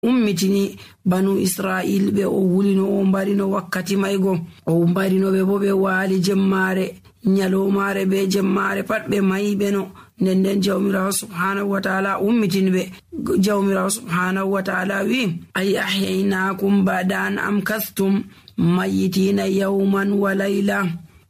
ummitini banu Israil ɓe o wulino o mbarino wakkati maygo o mbarino ɓe bo ɓe waali jemmare nyalomare be jemmare pat ɓe mayiɓe no. Nden jawmirawo subhanahu wa ta'ala ummitini ɓe. Jawmirawo subhanahu wa ta'ala wi ay ahyaynakum ba'da an amkastum mayitina yawman wa layla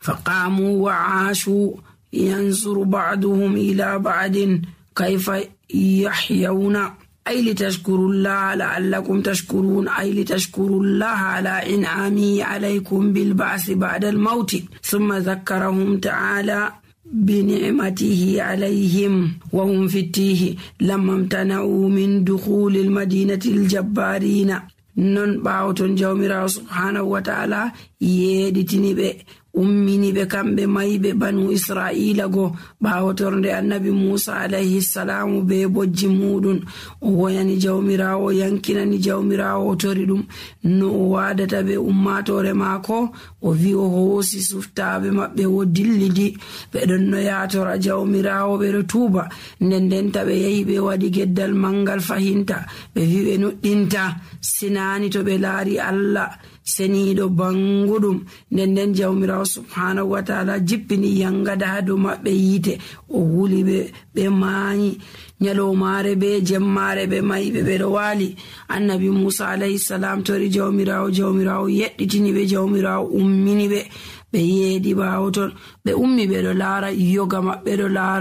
faqamu wa aashu yanzuru ba'duhum ila ba'din kayfa yahyawna ay litashkurullaha la'allakum tashkurun ay litashkurullaha ala in'amihi alaykum bil ba'thi ba'da al mawti thumma dhakkarahum ta'ala بنعمته عليهم وهم في التيه لما امتنعوا من دخول المدينة الجبارين non ɓawoton jawmirawo subhanahu wa ta'ala yeɗitini ɓe ummini ɓe kamɓe mayiɓe banu israila go ɓawotorde annabi musa alayhi salamu be bojji muɗum o woyani jawmirawo yankinani jawmirawo o tori ɗum no o wadata ɓe ummatore maako o wi o hoosi suftaɓe maɓɓe o dillidi ɓeɗon no yatora jawmirawo ɓeɗo tuuba ndendenta ɓe yehi ɓe waɗi geddal mangal fahinta ɓe wi ɓe nuɗɗinta sinani to ɓe laari Allah seniiɗo banguɗum. Nden jawmirawo subhanahu wa ta'ala jippini yangada ha dow maɓɓe yiite o wuli ɓe maayi nyalomare be jemmare ɓe mayiɓe ɓeɗo waali. Annabi musa alayhi salam tori jawmirawo yeɗɗitini ɓe jawmirawo ummini ɓe yeeɗi ɓawo ton ɓe ummi ɓeɗo laara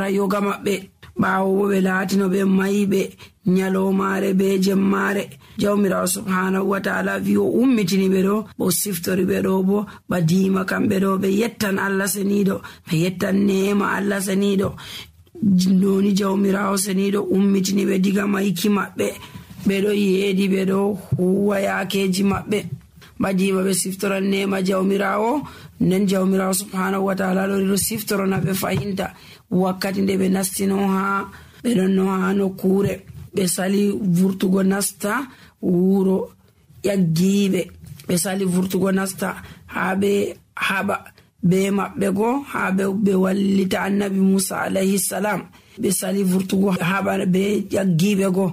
yoga maɓɓe ɓawo bo ɓe laatino ɓe mayiɓe nyalomare be jemmare. Jawmirawo subhanahu wa ta'ala wi o ummitini ɓe ɗo o siftori ɓe ɗo bo badima kamɓe ɗo ɓe yettan Allah seniɗo ɓe yettan neema Allah seniɗo. Noni jawmirawo seniɗo ummitini ɓe diga mayki maɓɓe ɓeɗo yeedi ɓeɗo huwa yakeji maɓɓe badima ɓe siftoran neema jawmirawo. Nden jawmirawo subhanahu wa ta'ala ɗo siftorona ɓe fahinta wakkati nde ɓe nastino ha ɓeɗon no ha nokkure ɓe sali vurtugo nasta wuro ƴaggiɓe ɓe sali vurtugo nasta ha ɓe haɓa be maɓɓe go ha ɓe wallita annabi musa alayhi salam ɓe sali vurtugo haɓa be ƴaggiɓe go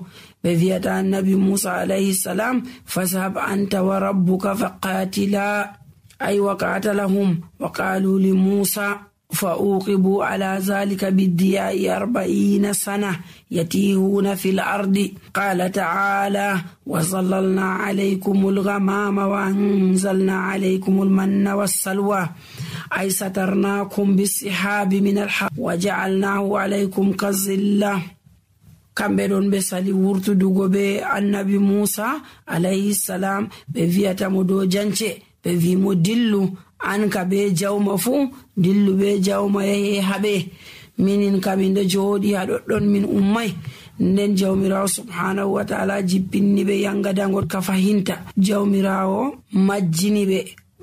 ɓe wiyata annabi musa alayhi salam fashab anta wa rabbuka faqatila ay wa qatalahum wa qalu li musa فأوقبوا على ذلك بالدياء 40 سنة يتيهون في الأرض قال تعالى وظللنا عليكم الغمام وأنزلنا عليكم المن والسلوى أي سترناكم بالسحاب من الحق وجعلناه عليكم كالظلة kamɓe ɗon ɓe sali wurtudugo be annabi musa alayhi salam ɓe wiyatamo dow jance ɓe wimo dillu an ka be jawma fuu dillu be jawma yahi haɓe minin kamin ɗo jooɗi ha ɗoɗɗon min ummay. Nden jawmirawo subhanahu wa ta'ala jippinni ɓe yangadangol ka fahinta. Jawmirawo majjini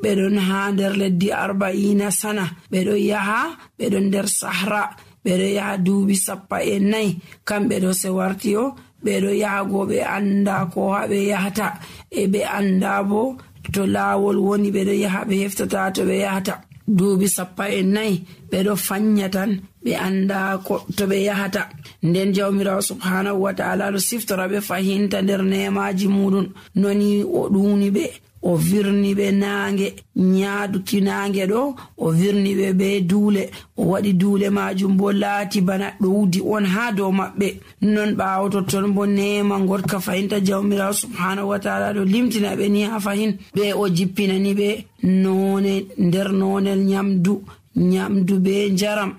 ɓeɗon ha nder leddi 40 sana ɓeɗo yaha ɓeɗon nder sahra ɓeɗo yaha duuɓi 40 kamɓe ɗo se warti o ɓeɗo yahago ɓe anda ko haɓe yahata e ɓe anda bo to laawol woni ɓeɗo yaha ɓe heftata to ɓe yahata duuɓi 40 ɓeɗo fanya tan ɓe anda ko to ɓe yahata. Nden jawmirawo subhanahu wa ta'ala ɗo siftora ɓe fahinta nder neemaji muɗum noni o ɗuni ɓe o virni ɓe naange nyaaduki naange ɗo o virni ɓe be duule o waɗi duule majum bo laati bana ɗowdi on ha dow maɓɓe. Non ɓaawo totton bo neema gotka fahinta jawmirawo subhanahu wa ta'ala ɗo limtina ɓe ni ha fahin ɓe o jippinani ɓe noone nder noonel nyamdu be njaram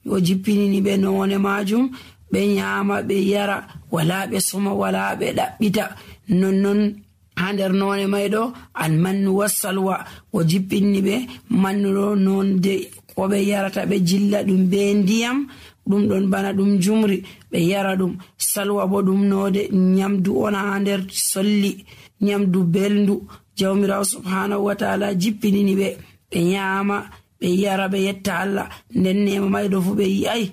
o jippinini ɓe noone majum ɓe nyama ɓe yara wala ɓe soma wala ɓe ɗaɓɓita. non ha nder noone mayɗo almannu wassalwa o jippinni ɓe mannuɗo nonde ko ɓe yarata ɓe jilla ɗum be ndiyam ɗum ɗon bana ɗum jumri ɓe yara ɗum. Salwa bo ɗum node nyamdu on ha nder solli nyamdu belndu. Jawmirawo subhanahu wa ta'ala jippinini ɓe nyama ɓe yara ɓe yetta Allah. Nden nema mayɗo fu ɓe yi'ai